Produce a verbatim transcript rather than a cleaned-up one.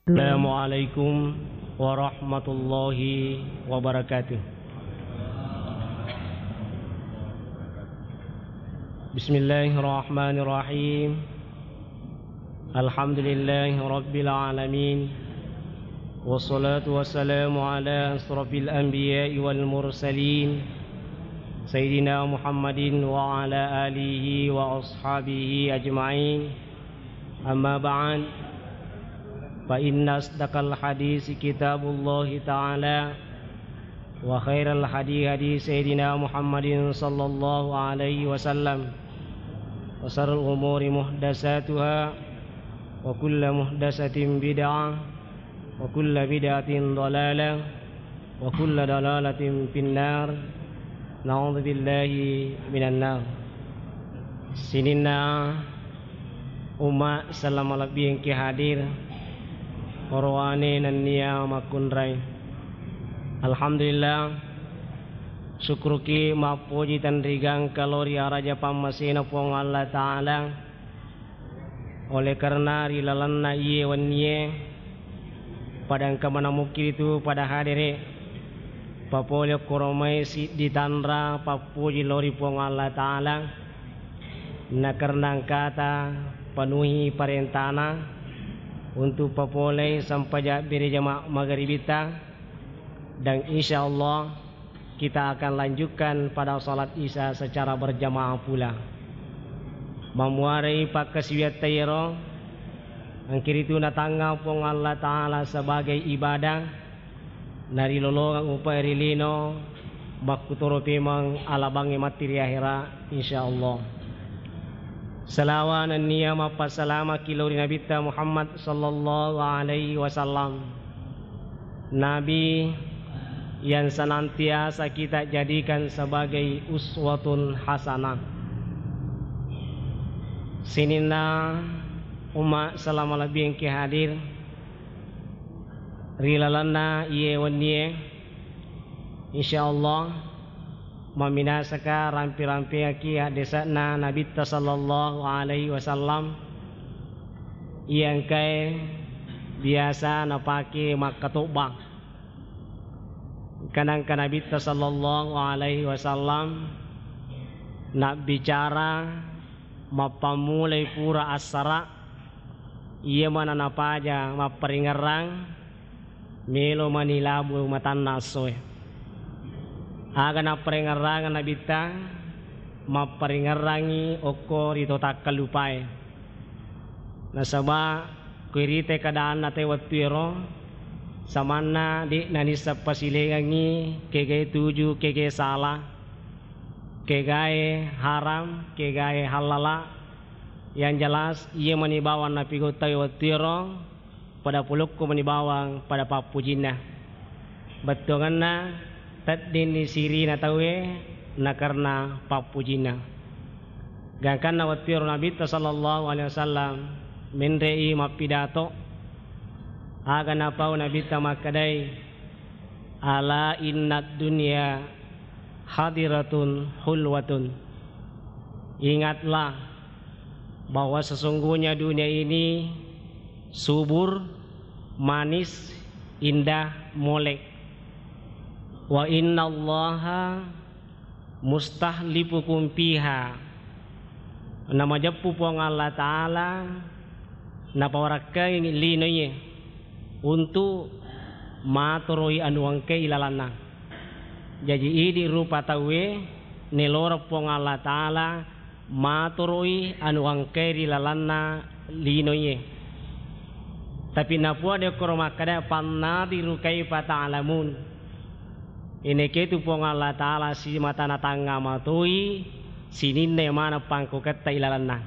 Assalamualaikum warahmatullahi wabarakatuh. Bismillahirrahmanirrahim. Alhamdulillahi rabbil alamin. Wassalatu wassalamu ala asrafil anbiya'i wal mursalin, Sayyidina Muhammadin wa ala alihi wa ashabihi ajma'in. Amma ba'd, fa inna asdaqal hadisi kitabullahi ta'ala, wa khairal hadi hadi Sayyidina Muhammadin sallallahu alaihi wasallam, wa syarrul umuri muhdasatuha, wa kullu muhdasatin bid'ah, wa kullu bid'atin dhalalah, wa kullu dhalalatin finnar. Na'udzubillahi minan nar. Sininna umma selama lebbi engke hadir, orowane nennia makkunrai. Alhamdulillah, syukruki mappoji tenrigangka lao ri araja pammasena Puang Allah Ta'ala. Oleh karena ri lalenna iye wennie, pada engka manamukki ritu pada hadere, papole okkoro mai siddi tanra pappuji lao ri Puang Allah Ta'ala, na karena engkata penuhi parentana untuk papolei sempajang berejama magaribita, dan insya Allah kita akan lanjutkan pada salat Isya secara berjamaah pula. Mamuarei pakkasiwiatta iyaro, engkiritu natangnga Puang Allah Ta'ala sebagai ibadah, narilolongeng upae ri lino, makkutoro pemeng alabangnge matti ri ahera, insya Allah. Salawa nennia mappassalamaki lao ri Nabitta Muhammad sallallahu alaihi wasallam. Nabi yang senantiasa kita jadikan sebagai uswatun hasanah. Sininna umma selama lebbi engke hadir ri lalenna iye wennie, insya Allah, maminasaka rampi-rampingaki haddese'na Nabitta sallallahu alaihi wasallam, iya engkae biasa napake makkatobba. Engkana engka Nabitta sallallahu alaihi wasallam nabbicara mappammulai pura assara, iya mana napaja mapparingerrang, melo mani labu matanna essoe. Aga napparingerrangeng Nabitta, mapparingerrangi okko ri to takkallupae. Nasaba ko irite keadaanna te wettuero, samanna de' nanisseng pasilengengngi kegae tuju, kegae sala, kegae haram, kegae hallala. Yang jelas, iya mani bawang napigau tauwe wettuero, pada pulukku mani bawang pada pappujinna. Bettuangenna, teddinni sirina tauwe nakarena pappujinna. Gangkanna wettuero Nabitta sallallahu alaihi wasallam menre'i mappidato, aga napau Nabitta makkedai, "Ala innad dunya hadiratun hulwatun." Ingatlah bahwa sesungguhnya dunia ini subur, manis, indah, molek. "Wa innallaha mustakhlifukum fiha." Namajeppu Puang Allah Ta'ala napawarakkangi linoe untuk matoroi anu engkae ilalanna. Jaji, idi rupa tauwe neloreng Puang Allah Ta'ala matoroi anu engkae ri lalanna linoe. Tapi napuada okkoro makkeda, "Fannadhiru kaifa ta'lamun." Ineketu Puang Allah Ta'ala simata natangnga matoi sininna maneng pangkoketta ilalanna.